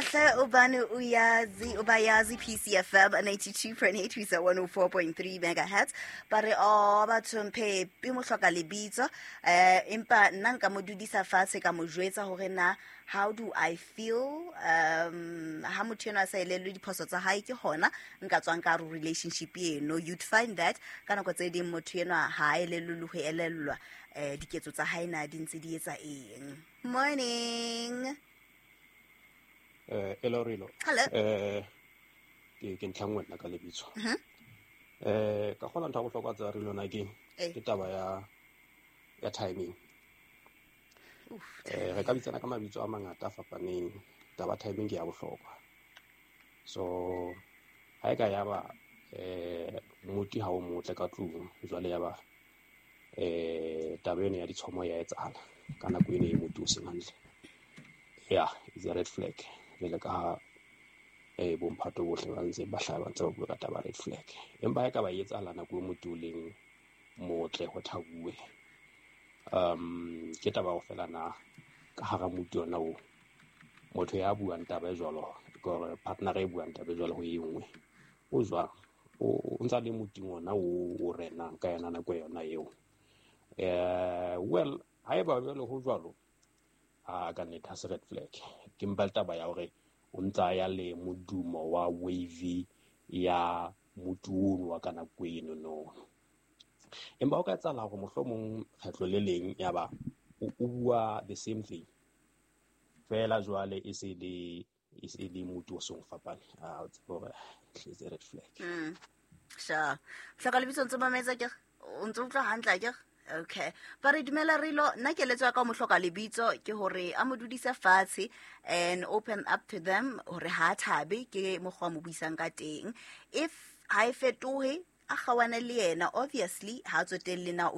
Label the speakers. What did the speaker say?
Speaker 1: Kahle ubani uyazi ubayazi. PCFM 92.8 ho isa 104.3 megahertz. Ba re o batho Mphepi mo hloka lebitso, empa nna nka mo dudisa fatshe, ka mo jwetsa hore na how do I feel ha motho eno a sa elellwe diphoso tsa hae, ke hona nka tswang ka hare ho relationship eno. You'd find that ka nako tse ding motho enwa ha a elellwe le ho elellwa diketso tsa hae na di ntse di etsa eng. Morning.
Speaker 2: Hello Rilo.
Speaker 1: Hello.
Speaker 2: Ke ntlha nngwe nna ka lebitso. Ka kgona ntho ya bohlokwa tsa Rilo na ke ke taba ya timing.
Speaker 1: Oof.
Speaker 2: Re ka bitsana ka mabitso a mangata a fapaneng. Taba timing ke ya bohlokwa. So ha e ka ya ba moti ha o motle ka tlung, jwale ya ba taba eno ya ditshomo ya etsahala ka nako eno e moti o seng hantle. Yeah, it's a red flag. Jwale ka ha bomphato bohle ba ntse ba hlaha ba ntse ba bua ka taba red flag. Empa ha e ka ba e etsahala nako e moti o leng motle ho thabuwe. Ke taba ho fela na ka hara moti ona o motho ya buang taba e jwalo, ke hore partner e buang taba e jwalo ho e nngwe. O jwang? O ntsa le moting ona o renang ka yona nako yona eo. Well, haeba jwale ho jwalo, a ka nnete ha se red flag. Ke mpa le taba ya hore o ntsa ya le modumo wa wavy ya moti ono wa ka nako eno no. Empa o ka etsahala hore mohlomong kgetlo le leng ya ba o bua the same thing. Fela jwale e se le moti o seng fapane. A o tsebe hore it's a red flag.
Speaker 1: Sure. Hloka lebitso, ntse mametse ke o ntse utlwa hantle ke. Okay. Ba re dumela Rilo, nna keletso ya ka ho mo hloka lebitso ke hore a mo dudise fatshe and open up to them hore ha a thabe ke mokgwa mo buisang ka teng. If ha e fetohe, a kgawane le yena. Obviously ha a tsotelle na o